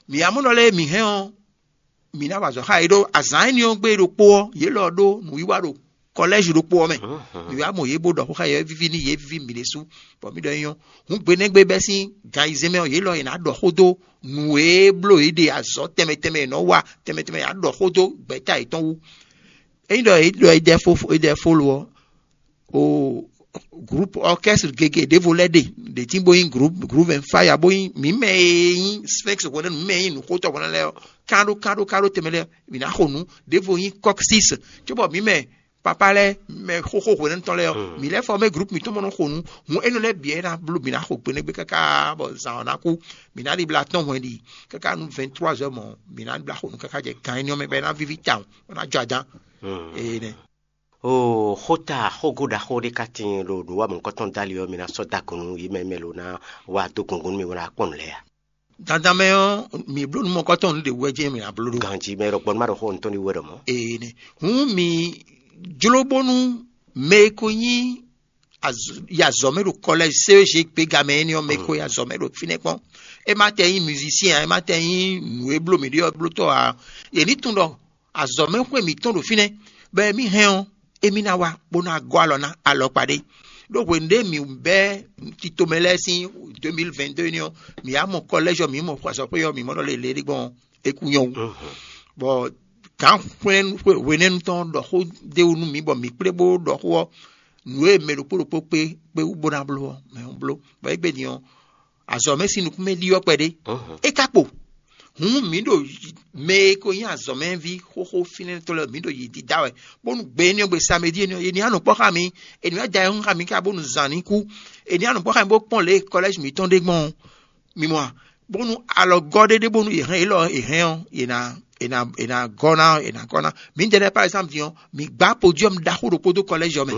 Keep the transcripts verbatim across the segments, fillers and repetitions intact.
Mǐ amɔ̌ ɖɔ lɛ́ɛ mǐ hɛn ɔ́, mǐ ná wa azɔ̌ xá yě ɖó azǎn énɛ́ ɔ́ gbe ɖokpó ɔ́, yě lɔ ɖó nǔwiwa ɖo kɔlɛ́zi ɖokpó ɔ́ mɛ. Mǐ wá mɔ yě bó ɖɔ xó xá yě, é víví n'i, yě víví mǐ ɖésú, bɔ mǐ ɖɔ é nyɔ́. Hǔn gbe nɛ́ gbe bɛ́ sín gan ayizɛ́n mɛ ɔ́, yě lɔ yě ná ɖɔ xó dó nǔ e bló yě ɖe azɔ̌ tɛnmɛ tɛnmɛ e nɔ́ wa tɛnmɛ tɛnmɛ, yě ná ɖɔ xó dó gbɛ̌ta yětɔn wú. Ényí ɖɔ è ɖɔ è ɖɛ fó è ɖɛ fó lo ɔ́, o groupe orchestre gege ɖěvo lɛ́ɛ ɖe ɖě tín bó nyí groupe groupe and fire bó nyí mǐ mɛ e nyí sphinx hwɛnɛnu, mǐ mɛ e nyí nǔxótɔ́ hwɛnɛnu lɛ́ɛ ɔ́, kán ɖó kán ɖó kán ɖó tɛnmɛ lɛ́ɛ, mǐ ná xo nǔ. Ɖěvo nyí kɔksis, cóbɔ mǐ mɛ papá lɛ́ɛ, mɛ xóxó hwɛnɛnu tɔn lɛ́ɛ ɔ́, mǐ lɛ́ fɔ mɛ groupe mǐtɔn bó nɔ́ xo nǔ. Hǔn énɛ́ lɛ́ɛ bǐ ɔ́ é ná bló mǐ ná xo gbeɖégbé káká bɔ zǎn ɔ́ ná kú. Mǐ ná ɖibla tɔn hwɛn ɖi káká nú vingt trois heures mɔ̌, mǐ ná ɖibla xo nǔ káká jɛ gan énɛ́ ɔ́ mɛ bɔ é ná víví tawun, bó ná jɔ adán. Énɛ́. O xóta xógo ɖaxó ɖé ka tíin ɖo nǔwamɔ̌kɔtɔn dali ɔ́, mi ná sɔ́ da gǔn nú yě mɛ mɛ lo ná wá dó gǔngún nú mi bó ná kpɔ́n nǔ lɛ́ɛ a? Dandan mɛ ɔ́, mǐ bló nǔ mɔ̌kɔtɔn nǔ ɖě wú wɛ jɛ́n mǐ ná bló ɖó. Ganjí mɛ ɖɔ gbɔn má ɖɔ xó ntɔn ɖi wɛ ɖɔ mɔ̌. Ee nɛ. Hǔn mǐ jló bónú mɛ e ko nyí yi azɔ̌ mɛ ɖo kɔlɛ́zi C E G gbéga mɛ énɛ́ ɔ́, mɛ e ko yi azɔ̌ mɛ ɖo fínɛ́ kpɔ́n. É má tɛ nyí musicien ǎ, é má tɛ nyí nǔ e bló mǐ ɖe ɔ́ blótɔ́ ǎ. Yě ní tunwun ɖɔ azɔ̌mɛxwé mǐtɔn ɖo fínɛ́, bɔ emi hɛn ɔ́, émí ná wá bó ná gɔ́ alɔ ná alɔkpa ɖé. Ɖó hwenu ɖé mǐ bɛ́ titomɛ lɛ́ɛ sín deux mille vingt-deux énɛ́ ɔ́, mǐ wá mɔ kɔlɛ́zi ɔ́, mǐ mɔ xwazɔ́xwé ɔ́, mǐ mɔ ɖɔ lě lě ɖé gbɔn é kú nyɔ́ wú. Bɔ gǎn hwenɛ́nu tɔn ɖɔ xó d'é wú nú mǐ bɔ mǐ kplé bó ɖɔ xó ɔ́, nǔ e mɛ ɖokpó ɖokpó kpé kpé wú bó ná bló ɔ́, mɛ ɔ́ bló. Bɔ égbé din ɔ́, azɔ̌ mɛ sín nukún mɛ ɖyɔ́ kpɛɖé. É ka kpo. Hǔn mǐ ɖo mɛ e ko nyí azɔ̌mɛví xóxó fínɛ́tɔ́ lɛ́ɛ, mǐ ɖo yě dídá wɛ, bónú gbe énɛ́ gbe samedi énɛ́, è nǐ anɔ kpɔ́ xá mi, è nǐ wá da ayihún xá mi ká bónú zǎn ní kú, è nǐ anɔ kpɔ́ xá mi bó kpɔ́n lě e kɔlɛ́zi mǐtɔn ɖe gbɔn ɔ́. Mi mɔ a? Bónú alɔgɔ́ ɖé ɖé bónú è hɛn élɔ́ è hɛn ɔ́, è nǎ è nǎ è nǎ gɔ́ ná è nǎ gɔ́ ná. Mǐdɛɛ lɛ́ɛ par exemple din ɔ́, mǐ gbá podiɔ́mu ɖaxó ɖokpó dó kɔlɛ́zi ɔ́ mɛ.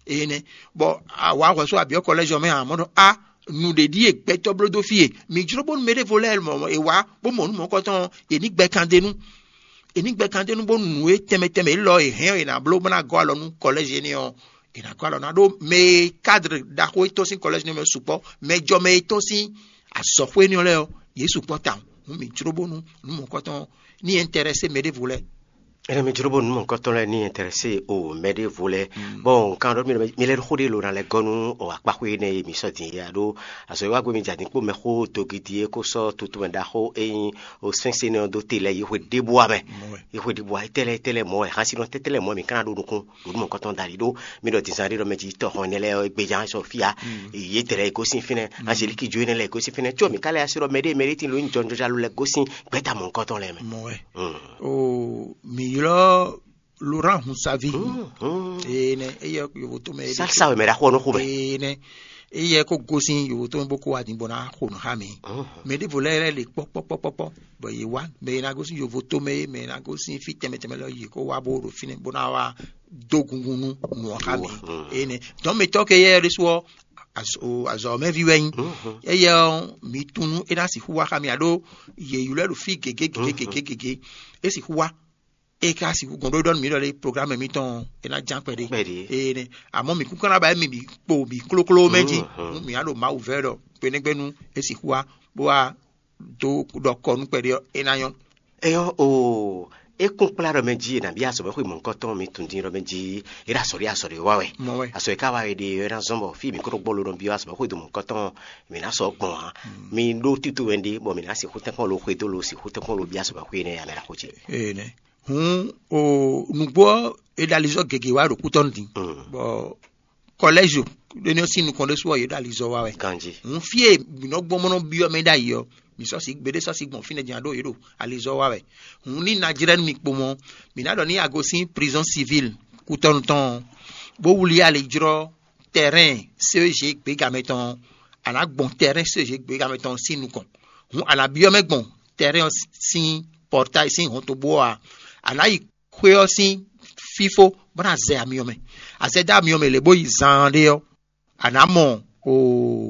Énɛ́. Bɔ awǎ hwɛ̌ sú abyɔ́ kɔlɛ́zi ɔ́ mɛ ǎ, mɔ̌ ɖɔ a nǔɖé ɖíe gbɛtɔ́ bló dó fí e. Mǐ jló bónú mɛɖěvo lɛ́ɛ mɔ è wá bó mɔ nǔ mɔ̌kɔtɔn ɔ́, è ní gbɛ kan d'é nú. È ní gbɛ kan d'é nú bónú nǔ e tɛnmɛ tɛnmɛ élɔ́ è hɛn ɔ́, è nǎ bló bó ná gɔ́ alɔ nú kɔlɛ́zi énɛ́ ɔ́, è nǎ gɔ́ alɔ ná ɖó mɛ e kádr ɖaxó e tɔ́n sín kɔlɛ́zi énɛ́ mɛ sukpɔ́, mɛ jɔ mɛ e tɔ́n sín azɔ̌xwé énɛ́ lɛ́ɛ ɔ́, yě sukpɔ́ tawun. Hǔn mǐ jló bónú nǔ mɔ̌kɔtɔn ní ɛntɛrɛsé mɛɖěvo lɛ́ɛ. Ɛnɛ mi jló bónú nú mɔ̌kɔtɔn lɛ́ɛ ní ɛntɛrɛsé o mɛɖěvo lɛ́ɛ. Bon, nkan ɖɔ mi lɛ xó ɖé lo na lɛ gɔ́ nú o akpaxwé énɛ́ e mi sɔ́ din é a ɖó azɔ̌ e wá gbé mi jɛ adǐn kpó mɛxó dogidi e kó sɔ́ tutumɛ ɖaxó e nyí o sɛ́nsɛn nɔ dó te lɛ́ɛ yi xwe ɖěbúa mɛ. Yi xwe ɖěbúa tɛ́lɛ́ tɛ́lɛ́ mɔ̌ wɛ xásínɔ tɛ́tɛ́lɛ́ mɔ̌ wɛ mi ka ná ɖó nukún ɖo nú mɔ̌kɔtɔn dali ɖó mi ɖɔ dǐnzán ɖé ɖɔ mɛ jí tɔxɔn énɛ́ lɛ́ɛ gbéján sɔ fíya. Yě tɛ́ lɛ́ɛ gosín fínɛ́, Angeliki jó énɛ́ lɛ́ɛ gosín fínɛ́ có mi ka lɛ́ así ɖɔ mɛɖé mɛɖé tín ló nyí jɔnjɔnjalo lɛ́ɛ gosín gbɛ́ta mɔ̌kɔtɔn lɛ́ɛ mɛ. Mɔ̌ wɛ. O mǐ ylɔ́ Laurent Hunsavi. Ee nɛ, eyɛ yovo tɔn mɛ. Salsa wɛ mɛ ɖaxó ɔ́ nɔ xo mɛ. Ee nɛ, eyɛ kó gosín yovo tɔn mɛ bó kó wá din bó ná xo nǔ xá mǐ. Mɛ ɖěvo lɛ́ɛ lɛ́ le kpɔ́kpɔ́kpɔ́kpɔ́, bɔ yě wá mɛ e ná gosín yovo tɔn mɛ, mɛ e ná gosín fí tɛnmɛ tɛnmɛ lɔ yě kó wá bó ɖo fínɛ́ bó ná wá dó gungun nú nǔ ɔ́ xá mǐ. Ee nɛ, dɔn mǐtɔn ke yɛ ɖésú ɔ́, azɔ̌mɛví wɛ nyí. Eyɛ ɔ́, mǐ tunú é ná sixú wá xá mǐ aɖó yě ylɔ́ ɛ ɖo fí gěgé gěgé gěgé gěgé. É sixú wá, é ka sixú gɔn ɖó ɖɔ nú mǐ ɖɔ lé programme mǐtɔn é ná ján kpɛɖé. Kpɛɖé. Ee nɛ, àmọ́ mǐ kúkú ná ba mì mì kpo mǐ klókló mɛ jí. Nú mǐ á ɖo Mawu vɛ́ ɖɔ gbeɖégbénu é sixú wá bó wá dó ɖɔ kɔ nú kpɛɖé ɔ́, é ná nyɔ́. Eyɔ́ o, é kún kplá ɖɔ mɛ jí è nǎ byɔ́ azɔ̌mɛxwé mɔ̌hunkɔtɔn mi tunwun din ɖɔ mɛ jí é ɖo azɔ̌ ɖé azɔ̌ ɖé wa wɛ. Mɔ wɛ. Azɔ̌ e ka wa wɛ ɖe é ná zɔ́n bɔ fí mǐ kó ɖo gbɔ lo nɔ byɔ́ azɔ̌mɛxwé do mɔ̌hunkɔtɔn mǐ ná sɔ́ gbɔn ǎ. Mi ɖó tito wɛ ɖe bɔ mǐ ná sixú tɛ́nkpɔ́n lo xwedó lo sixú tɛ́nkpɔ́n lo byɔ́ azɔ̌mɛxwé énɛ́ ǎ mɛ ɖaxó ce. Ee nɛ. Hǔn o nǔgbó ɔ́, è ɖo alizɔ́ gěgé wá ɖo kútɔ́ nú din. Bɔ kɔlɛ́zi ɖé ní ɔ́ sín nukɔn ɖésú ɔ́, yě ɖo alizɔ́ wa wɛ. Ganjí. Hǔn fí e mǐ nɔ gbɔn bó nɔ byɔ́ mɛ ɖ'ayǐ ɔ́, mǐ sɔ́ sí gbeɖé sɔ́ sí gbɔn fínɛ́ din aɖó yě ɖo alizɔ́ wa wɛ. Hǔn ní ná jlɛ́ nú mi kpo mɔ́, mǐ ná ɖɔ ní a gosín prizɔ́n sivíl kútɔ́nu tɔn ɔ́, bó wlí ali jlɔ́ tɛrɛ́n C E G gběgamɛ tɔn ɔ́, a nǎ gbɔn tɛrɛ́n C E G gběgamɛ tɔn ɔ́ sín nukɔn. Hǔn a nǎ byɔ́ mɛ gbɔn tɛrɛ́n ɔ́ sín pɔrtáyi sín hɔntogbó ɔ́ ǎ. A nǎ yi xwé ɔ́ sín fífó bó ná zɛ amyɔ mɛ. A zɛ dó amyɔ mɛ lě bó yi zaanɖé ɔ́, a nǎ mɔ oo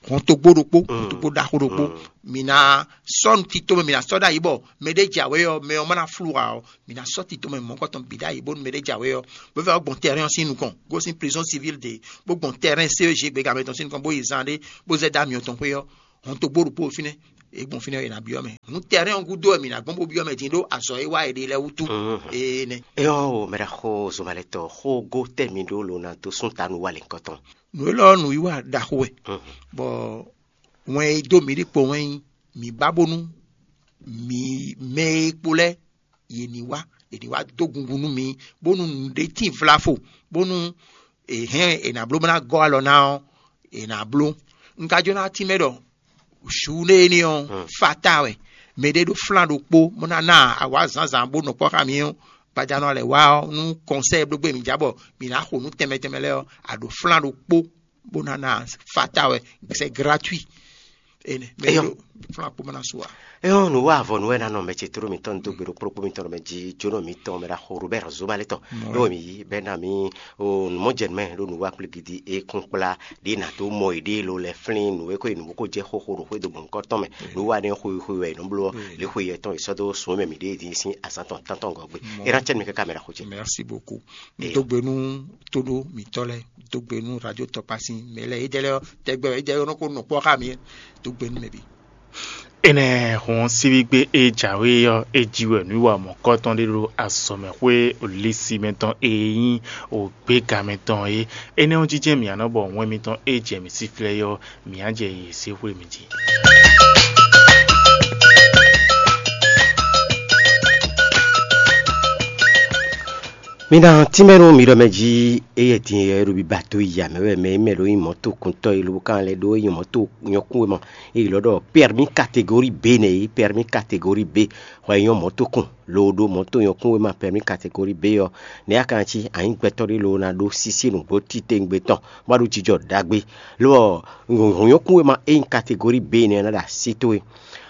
hɔntogbó ɖokpó, hɔntogbó ɖaxó ɖokpó. Mi ná sɔ́ nu tito mɛ, mi ná sɔ́ ɖ'ayǐ bɔ mɛ ɖé jǎwe ɔ́, mɛ ɔ́ má ná flú ǎ ɔ́, mi ná sɔ́ tito mɛ mɔ̌kɔtɔn bǐ ɖ'ayǐ bónú mɛ ɖé jǎwe ɔ́, bó vɛ́ ɔ́ gbɔn tɛrɛn ɔ́ sín nukɔn, gosín prizɔ́n sivíl ɖě, bó gbɔn tɛrɛn C E G gběgamɛ tɔn sín nukɔn, bó yi zan ɖé, bó zɛ dó amyɔ tɔn xwé ɔ́, hɔntogbó ɖokpó fínɛ́. È gbɔn fínɛ́ è nǎ byɔ́ mɛ. Nǔ tɛnɛ́ ɔ́ gúdo wɛ mǐ ná gbɔn bó byɔ́ mɛ din ɖó azɔ̌ e wá è ɖe lɛ́ɛ wútu. Énɛ́. Éyɔ́ o, mɛ ɖaxó Zomalɛtɔn, xógó tɛ́ mi ɖó lo ná dó sún ta nú wa lɛ̌nkɔ́tɔn. Nǔ élɔ́ ɔ́, nǔwiwa ɖaxó wɛ, bɔ wɛn e dó mǐ ɖi kpo wɛn nyí mǐ ba bónú mǐ mɛ e kpo lɛ́ɛ yě ní wá, yě ní wá dó gungun nú mi, bónú nǔɖé tín vlafo, bónú è hɛn è nǎ bló bó ná gɔ́ alɔ ná ɔ́, è nǎ bló. Un ka jló ná tínmɛ ɖɔ su nú éní ɔ́, fata wɛ mɛɖé ɖó flán ɖokpó bó ná ná awǎ zǎnzǎn bó nɔ kpɔ́ xá mi ɔ́, gbadanu lɛ́ wá ɔ́, nú kɔnsɛ́ ɖó gbé mǐ ja bɔ mǐ ná xo nǔ tɛnmɛ tɛnmɛ lɛ́ɛ ɔ́, a ɖǒ flán ɖokpó bó ná ná fata wɛ, c'est gratuit. Ene mɛ Eyɔ́. Ɖo flán kpó mɛ ná su wa. Eyɔ́, nǔ wa avɔ nǔ wɛ ná nɔ mɛ ce tló mitɔn dó gbe ɖokpó ɖokpó mitɔn mɛ jí jónɔ mitɔn mɛ ɖaxó Robert Zomalɛtɔn. Ɖó mi yí bɛ́ ná mi o nǔmɔjɛnumɛ ɖó nǔ wa kplígidi e kún kplá ɖě nǎ dó mɔ yěɖée ló lɛ́ flín nǔ e ko yi nǔ bó ko jɛ xóxó ɖo xwédo gbɔ̌nkɔ́tɔn mɛ. Nǔ wa nɛ́ xwe xwe wɛ è nɔ bló ɔ́, lě xwe yɛtɔn è sɔ́ dó sun e mɛ mǐ ɖe din sín azǎn tɔn tántɔn gɔ́ gbe. É ná cɛ́ nú mi káká mɛ ɖaxó ce. Merci beaucoup. Mi dó gbe nú tóɖó mǐtɔn lɛ́ɛ, dó gbe nú radio tɔkpasin mɛ lɛ́ɛ, édɛ́ lɛ́ɛ ɔ́, tɛgbɛ wɛ édɛ́ ɔ́ nɔ ko nɔ kpɔ́ xá mi. Dó gbe nú mɛ bǐ. Énɛ́ hɔn síbígbe e jǎwe ɔ́, é jí wɛ nǔwiwa mɔ̌kɔtɔn ɖé ɖo azɔ̌mɛxwé Olísimɛ tɔn e nyí ògbégamɛ tɔn é. Énɛ́ ɔ́ jínjɛ́n mǐ ná nɔ bɔ wɛn mitɔn e jɛ mǐ síflɛ́ é ɔ́, mǐ ná jɛ yě se xwé mǐ jí. Mi ná tínmɛ nú mi ɖɔ mɛ jí, éyɛ́ din e ɖo biba dó yi amɛ wɛ mɛ e mɛ ɖo nyí mɔ̌tokúntɔ́ e lobo kan lɛ́ ɖó é nyí mɔ̌to nyɔ́kún e mɔ. È ylɔ́ ɖɔ permis catégorie B nɛ́ é, permis catégorie B. Xɔ e nyɔ́ mɔ̌tokún, lo ɖó mɔ̌to nyɔ́kún e ma permis catégorie B ɔ́, nɛ̌ a ka ná cí a nyǐ gbɛtɔ́ ɖé lo ná ɖó sísí nǔgbó titewungbe tɔn, bó wá ɖó jijɔ ɖagbe. Lo ɔ́, nyɔ̌kún e ma é nyí catégorie B nɛ́ ɔ́ ná ɖo así towe.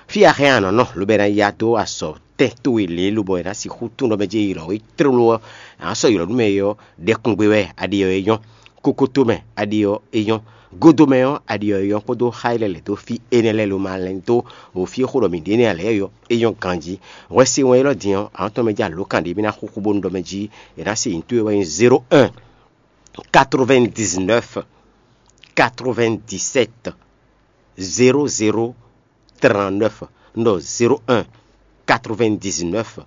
Fí a hɛn a nǎ nɔ, lobo è nǎ ya dó azɔ̌ tɛn towe lě lobɔ è nǎ sixú tunwun ɖɔ mɛ jɛ ylɔ̌ we tlóló ɔ́, a nǎ sɔ́ ylɔ̌ nú mɛ é ɔ́, ɖɛkungbe wɛ a ɖe ɔ́ é nyɔ́. Kokoto mɛ a ɖe ɔ́ é nyɔ́. Godo mɛ ɔ́ a ɖe ɔ́ é nyɔ́ kpódó xá e lɛ́ lɛ̌ dó fí énɛ́ lɛ́ɛ lomɛ alɛ́ dó o fí e xó ɖɔ mǐ ɖe énɛ́ ǎ lɛ́ɛ ɔ́ é nyɔ́ ganjí. Hwɛsí wɛn élɔ́ din ɔ́, a nǎ tɔ́n mɛ jɛ alǒkan ɖě mì ná xúxú bónú ɖɔ mɛ jí è nǎ se nyǐ towe wɛ nyí zéro un quatre-vingt-dix-neuf quatre-vingt-dix-sept zéro zéro trente-neuf. Un ɖɔ zéro un quatre-vingt-dix-neuf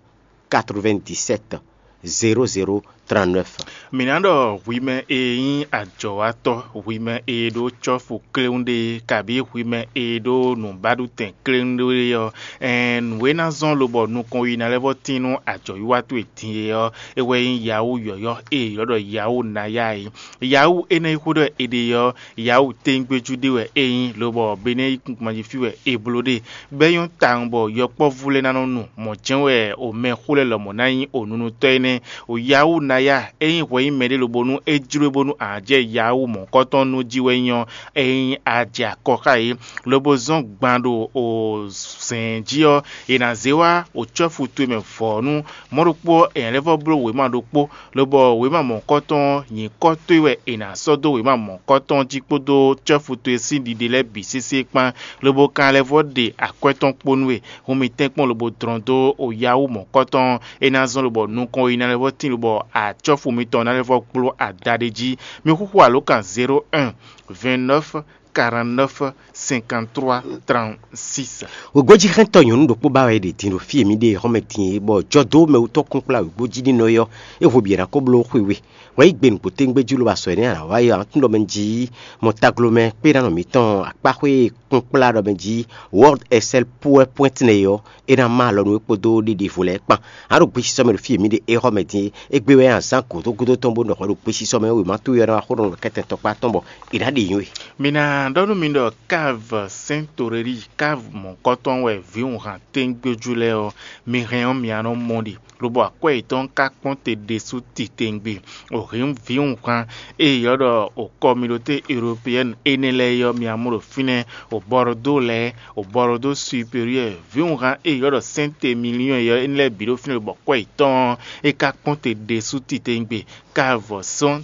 quatre-vingt-dix-sept zéro zéro trente-neuf. Mǐ ná ɖɔ hwi mɛ e nyí ajɔ̌watɔ́, hwi mɛ e ɖó cɔ́fu kléwún ɖe, kabǐ hwi mɛ e ɖó nǔbaɖutɛn kléwún ɖe ɔ́, ɛɛn, nǔ e ná zɔ́n lobɔ nukɔn yi ná lɛ́ vɔ́ tín nú ajɔ̌wiwa towe din é ɔ́, é wɛ nyí Yahoo yɔ̌yɔ́ e è ylɔ́ ɖɔ Yahoo Naya é. Yahoo énɛ́ e xwedó wɛ è ɖe ɔ́, Yahoo tɛ́ngbéjú ɖé wɛ é nyí, lobɔ Benɛ́ yíkúngban jí fí wɛ è bló ɖe. Bɔ é nyɔ́ tawun bɔ yɔkpɔ́vú lɛ́ɛ ná nɔ nu mɔ̌ jɛ́n wɛ o mɛxó lɛ́ɛ lɔmɔ̌ ná nyí o nunutɔ́ énɛ́. O Yahoo Naya, é nyí hwɛ nyí mɛɖé lobo nú é jló bónú a nǎ jɛ Yahoo mɔ̌kɔtɔn nú jí wɛ nyí ɔ́, é nyí a jɛ akɔ xá yě, lobo zɔ́n gban ɖo o zɛ̌n jí ɔ́, è nǎ zé wá o cɔ́fu towe mɛ vɔ̌nu. Mɔ̌ ɖokpó ɔ́, è nǎ lɛ́ vɔ́ bló wěma ɖokpó, lobɔ wěma mɔ̌kɔtɔn ɔ́, nyǐkɔ towe wɛ è nǎ sɔ́ dó wěma mɔ̌kɔtɔn ɔ́ jí kpódó cɔ́fu towe sín ɖiɖe lɛ́ɛ bǐ sésé kpán, lobo ka lɛ́ vɔ́ ɖe akwɛ́ tɔn kpó nú we. Hun mì tɛ́nkpɔ́n lobo dlɔ́n dó o Yahoo mɔ̌kɔtɔn ɔ́, é ná zɔ́n lobɔ nukɔn yi ná lɛ́ vɔ́ tín lobɔ acɔ́fu mitɔn ná lɛ́ vɔ́ kpló ada ɖé jí. Mi xúxú alǒkan zéro un vingt-neuf quarante-neuf cinquante-trois trente-six. Wěgbójíxɛ́ntɔ́ nyɔ̌nu ɖokpó ba wɛ è ɖe din ɖo fí e mǐ ɖe xɔ́mɛ din é, bɔ jɔdó mɛwútɔ́ kún kplá wěgbójí nínɔ é ɔ́, é hwebi è nǎ ko bló xwe we. Hwɛ yí gbe nǔgbó téŋgbé jí lobo azɔ̌ énɛ́ a nǎ wa é ǎ, tún ɖɔ mɛ jí mɔ taglomɛ kpé ná nɔ mǐtɔn akpáxwé e kún kplá ɖɔ mɛ jí World Excel PowerPoint nɛ é ɔ́, é ná má alɔ nú é kpódó ɖiɖivo lɛ́ɛ kpán. A ɖo gbesisɔ mɛ ɖo fí e mǐ ɖe é xɔ́mɛ din é. Égbé wɛ azǎn gǒdógódó tɔn bó nɔ hwɛ ɖo gbesisɔ mɛ wěma towe ɔ́ ná wá xó ɖɔ nɔ kɛ́tɛn tɔkpá tɔn bɔ è nǎ ɖe nyǐ we. Mi ná ɖɔ nú mi ɖɔ Cave Saint Aurélie, Cave mɔ̌kɔtɔn wɛ vǐwunhan téŋgbéjú lɛ́ɛ ɔ́, mi hɛn ɔ́, mi ná nɔ mɔ ɖi, lobo akwɛ́ yětɔn ka kpɔ́n te ɖésú titewungbe. O hǐn vǐwunhan e ylɔ́ ɖɔ o communauté européenne énɛ́ lɛ́ɛ é ɔ́, mi ná mɔ ɖo fínɛ́, o Bordeaux lɛ́ɛ, o Bordeaux supérieur, vǐwunhan e ylɔ́ ɖɔ Saint-Émilion é ɔ́, énɛ́ lɛ́ɛ bǐ ɖo fínɛ́, lobo akwɛ́ yětɔn ɔ́, é ka kpɔ́n te ɖésú titewungbe. Cave Saint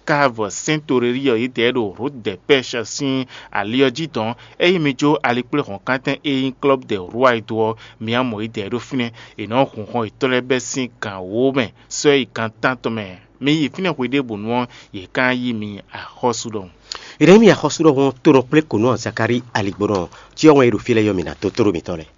Cave Saint Aurélie ɔ́, yědɛɛ ɖo Route des Pêches sín ali ɔ́ jí dɔn. Ényí mi jó alikpléhɔ̌nkántɛn e nyí Club des Rois é dó ɔ́, mi ná mɔ yědɛɛ ɖó fínɛ́. È nɔ́ hun xɔ yětɔn lɛ́ɛ bɛ́ sín gan wǒ mɛ sɔ́ yi gan tántɔn mɛ. Mi yi fínɛ́ hweɖěbǔnu ɔ́, yě ká yí mi axɔ́sú ɖɔhun. È nǎ yí mi axɔ́sú ɖɔhun ɔ́, tonɔ kplé kǒnɔ Zakalíi aligbɔnɔ ɔ́, cyɔ wɛn e ɖo fí lɛ́ɛ yɔ mǐ ná dó tló mitɔn lɛ́ɛ.